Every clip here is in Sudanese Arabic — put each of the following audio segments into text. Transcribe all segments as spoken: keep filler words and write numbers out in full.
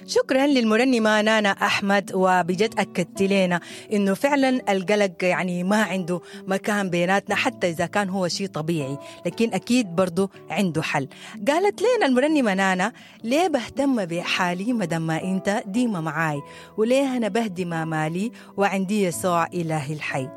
شكرا للمرنمة نانا أحمد، وبجد أكدت لنا إنه فعلا القلق يعني ما عنده مكان بيناتنا حتى إذا كان هو شيء طبيعي، لكن أكيد برضو عنده حل. قالت لنا المرنمة نانا: ليه بهتم بحالي مدام ما أنت ديما معاي، وليه أنا بهدي ما مالي وعندي يسوع إلهي الحي،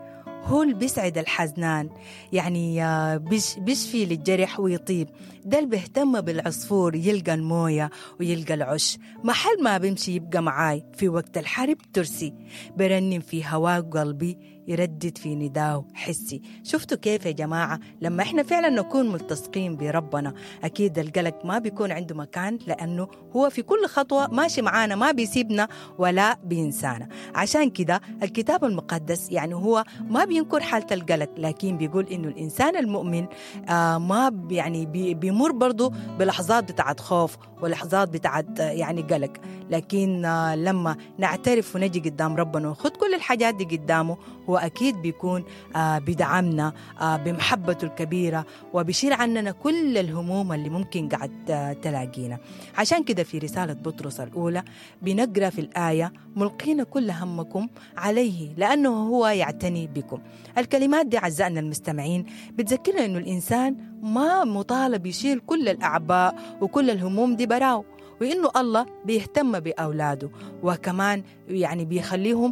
هو اللي بيسعد الحزنان، يعني بيش بيشفي للجرح ويطيب، ده اللي بيهتم بالعصفور يلقى الموية ويلقى العش، محل ما بيمشي يبقى معاي في وقت الحرب ترسي، برنم في هواك قلبي يردد في نداه حسي. شفتوا كيف يا جماعة لما احنا فعلا نكون ملتصقين بربنا أكيد القلق ما بيكون عنده مكان، لأنه هو في كل خطوة ماشي معانا، ما بيسيبنا ولا بينسانا. عشان كده الكتاب المقدس يعني هو ما بينكر حالة القلق، لكن بيقول إنه الإنسان المؤمن آه ما يعني بي بيمر برضو بلحظات بتاعت خوف ولحظات بتاعت يعني قلق، لكن آه لما نعترف ونجي قدام ربنا ونخد كل الحاجات دي قدامه، هو أكيد بيكون آه بيدعمنا آه بمحبته الكبيرة وبيشيل عننا كل الهموم اللي ممكن قاعد آه تلاقينا. عشان كده في رسالة بطرس الأولى بنقرأ في الآية: ملقين كل همكم عليه لأنه هو يعتني بكم. الكلمات دي أعزائنا المستمعين بتذكرنا إنه الإنسان ما مطالب يشيل كل الأعباء وكل الهموم دي براو، وإنه الله بيهتم بأولاده، وكمان يعني بيخليهم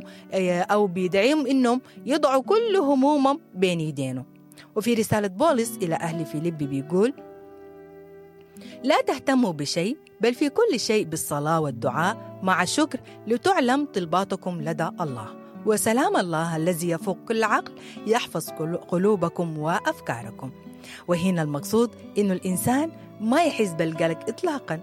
أو بيدعيهم إنهم يضعوا كل همومهم بين يدينه. وفي رسالة بولس إلى أهل فيليب بيقول: لا تهتموا بشيء، بل في كل شيء بالصلاة والدعاء مع الشكر لتعلم طلباتكم لدى الله، وسلام الله الذي يفوق كل عقل يحفظ قلوبكم وأفكاركم. وهنا المقصود إنه الإنسان ما يحس بالقلق إطلاقا،